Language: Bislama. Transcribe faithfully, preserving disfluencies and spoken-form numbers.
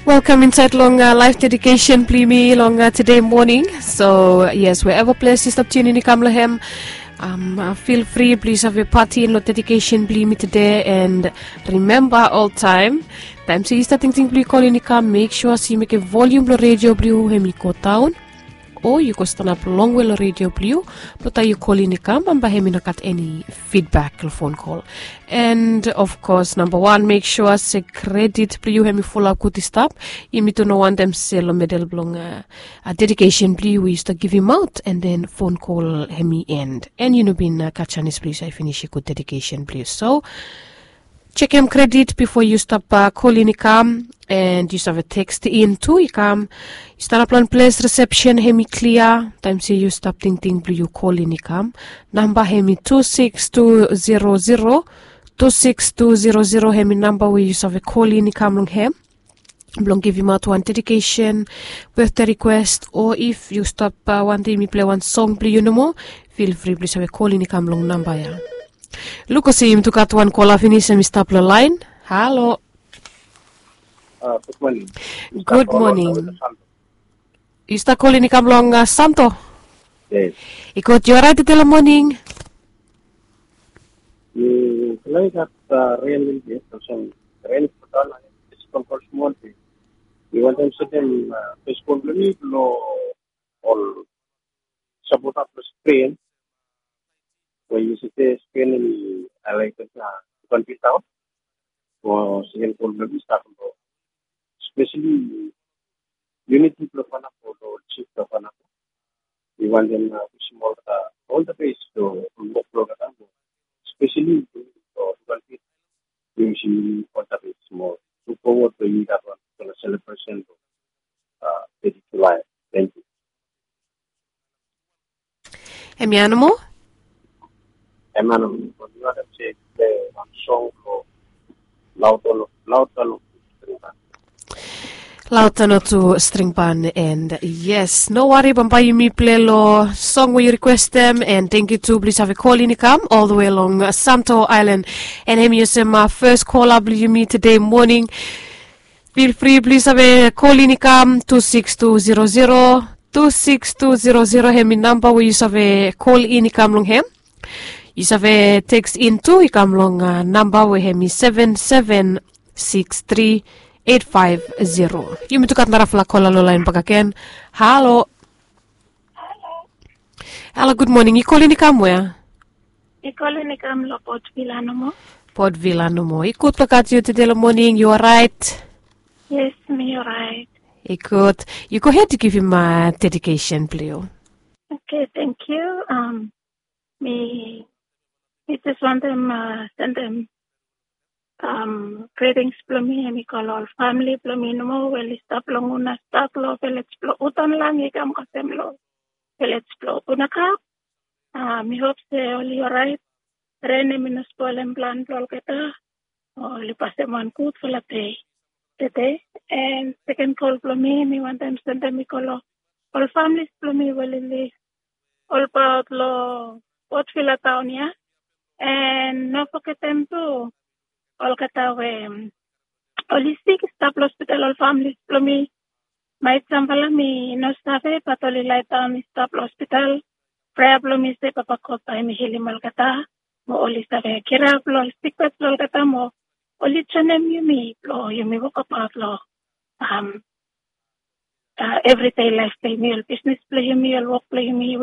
Welkam insaet long laef dedikesen blong yumi long tude moning. So yes, wherever ples yu stap tiunin i kam long hem, fil fri blong yu save patin long dedikesen blong yumi tude. And rimemba oltaem, taem se yu stap tingting blong yu kolin i kam, mek sua se yu mekem volium blong redio blong yu hem i go daon, o yu go stanap longwe long redio blong yu, blong taem yu kolin i kam bambae hem i no gat eni fidbak long fon kol. And of kos namba wan, mek sua se kredit blong yu hem i fulap gud i stap. Yumi tu no wantem se long medel blong dedikesen blong yu we yu stap givimaot, and then fon kol hem i end, and yu no bin gat janis blong yu save finisim gud dedikesen blong yu. So jekem kredit bifo yu stap kolin i kam, and yu save tekstin tu i kam. Yu stanap long ples resepsen hem i klia taem se yu stap tingting blong yu kolin i kam. Namba hem i tu siks tu zero zero, tu siks tu zero zero hem i namba we yu save kolin i kam long hem blong givimaot wan dedikesen, betde rikwes, o if yu stap wantem yumi pilei wan song blong yu nomo, fil fri blong yu save kolin i kam long namba ya. Luk olsem yumi tu gat wan kola finis hem i stap long laen. Halo. Gud moning. Yu stap kolin i kam long santo? I gud, yu oraet tude long moning? Yu pilai gat ren lelebet olsem ren i go daon, isi kol smol. Mi wantem sendem fes kol blong mi long ol sapota blong Spen, we yu save spen in alaikes na yu kan bitaot. Mo seken kol blong mi stap long spesali uniti blong Fanapo, long ol jif blong Fanapo. Mi wantem wisim olgeta ol the best long wok blong olgeta, spesali long yu kan bit wisim olgeta best mo. Luk fowod blong yumi gat wan bigfala selebresen long teti Julae. Tangkiu. Hemia nomo? Hemia nomo. Lautano tu string ban. And yes, no wari, bambae yumi pilei long song we yu rikwestem. And tangkiu tu blong yu save kolin i kam ol the we long Santo Aelan. And hemi olsem fes kola blong yumi tude moning. Fil fri blong yu save kolin i kam tu siks tu zero zero, tu siks tu zero zero hemi namba we yu save kolin i kam long hem. Yu save tekstin tu i kam long namba we hemi seven seven six three eight five zero. Yumi tu gat narafala kola long laen bakegen. Halo. Halo, gud moning. Yu kolin i kam wea? I kolin i kam long Port Vila nomo. Port Vila nomo. I gud blong gat yu tude long moning, yu oraet? Yes, mi oraet. I gud. Yu gohed, yu givim dedikesen blong yu. Oke, tangkiu. Mi mi jes wantem sendem gritings blong mi hemi go long ol famili blong mi nomo we oli stap long Una stat long vilej blong Utanlang i kam kasem long vilej blong Unakap. Mi hop se oli oraet. Ren hemi no spolem plan blong olgeta. Oli pasem wan gudfala dei tede. And seken kol blong mi, mi wantem sendem i go long ol familis blong mi we oli lif olbaot long Port Vila taon ya. And no fogetem tu olgeta we oli sik i stap long hospital, ol familis blong mi. Maet samfala mi no save, bat oli laedaon i stap long hospital. Prea blong mi se Papa God bae hemi hilim olgeta mo oli save kirap long ol sikbed blong olgeta mo oli joenem yumi blong yumi wokabaot long evridei laef blong yumi, ol bisnis blong yumi, ol wok blong yumi.